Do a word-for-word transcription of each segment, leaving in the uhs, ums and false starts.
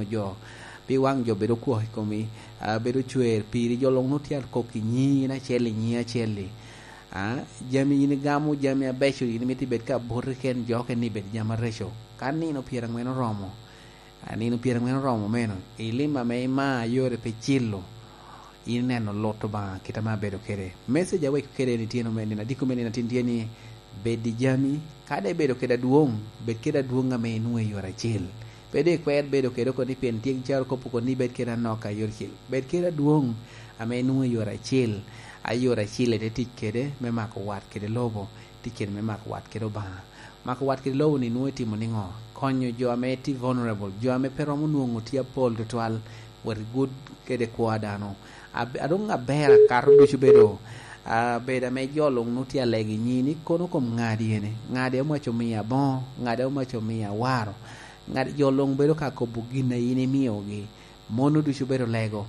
jo, pi waŋ jo bedo kwok i komi, a, bedo cwer piri, jo luŋ nwoŋo tye akok i nyiŋi in acel i nyiŋi acel-li. A, jami in igamo, jami abeco, in imito ibed ka boti ken jo, ken ni ibed jami areco. Ka nino pyeraŋwen oromo, a, nino pyeraŋwen oromo meno, i lim ame ima a yore pe cilo, in ineno lut Obaŋa kit ame abedo kede. Message aweko kede ni tyen ome nino, adiko me nino atin tye ni, bed i jami, ka daŋ ibedo kede adwoŋ, bed kede adwoŋ ame inwoŋo i yore acil. Pe doŋ ikwer bedo kede oko ni pien tye caro kop oko ni bed kede anok a yore acil. Bed kede adwoŋ ame inwoŋo i yore acil, a yore acil ite tic kede me mako wat kede lobo, tic kede me mako wat kede Obaŋa. Mako wat kede lobo-ni nwoŋo itimo niŋo? Konyo jo ame tye vulnerable, jo ame pe romo nwoŋo tye apol tutwal, wot igud kede kwo a dano. Ab-, a doŋ aber akato ducu bedo, a, bedo ame jo luŋ nwoŋo tye alego i nyiŋi ni kono kom ŋadi ene, ŋadi amac omiyo aboŋo, ŋadi amac omiyo awaro, ŋadi jo luŋ bedo ka kobo gin a in imiogi. Mono ducu bedo lego.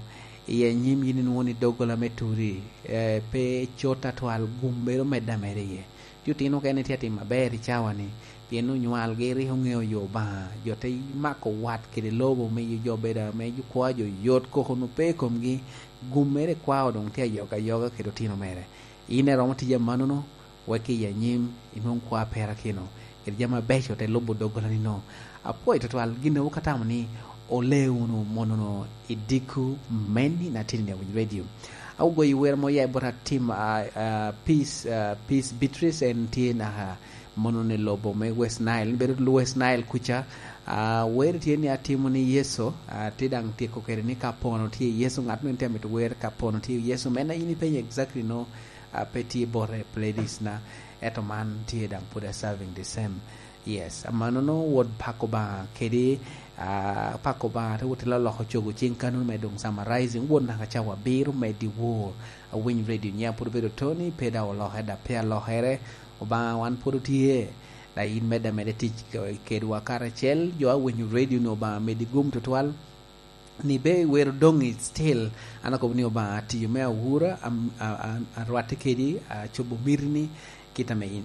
I anyim yin inwoŋo ni doggola me turi, eh, pe cot atwal, gum bedo medde ameda iye. Ti otino okene tye atimo aber i cawa-ni, pien onywalgi rik oŋeo yo Obaŋa. Jo te mako wat kede lobo, miyo jo bedo ame jo kwa jo yot, koko onwoŋo pe i komgi. Gum mere kwao doŋ tye ayoga ayoga kede otino mere. In iromo tiyo amannono, wek i anyim inwoŋ kwa perakino, kede jami abeco te lubo doggola-ni no. Apwoyo tutwal gin a wok atamo ni ole wunu monono i dikku me nino atin i Awiny Radio. Agoyo wer mo ya i bot atim, a, a, Peace, a, Peace Beatrice, en tye naka monono i lobo me West Nile, bedo West Nile kuca. A, wer tye ni atimo ni Yecu, a, tye daŋ tyeko kede ni ka pono tye Yecu, ŋat mene tye amito wer ka pono tye Yecu, mena in ipenyo exactly no, a, pe tye bote i playlist na, ento man tye daŋ pwod a serving the same. Yes, amannono wot pako Obaŋa kede, a, pako Obaŋa te wot te loloko cogo cing kannono me doŋ summarizing, wot naka cawa abiro me dyewor. Awiny Radio nya pwod obedo Tony, pe daŋ olokere, daŋ pe alokere. Obaŋa wan pwod otye, daŋ in medde ameda tic ke-, kedwa karacel. Jo a winyo radio-ni Obaŋa medi gum tutwal. Ni be wero doŋ i still, an akobo ni Obaŋa atiyo me awura, am-, a, a, arwatte kedi, acobo mitini, kit ame in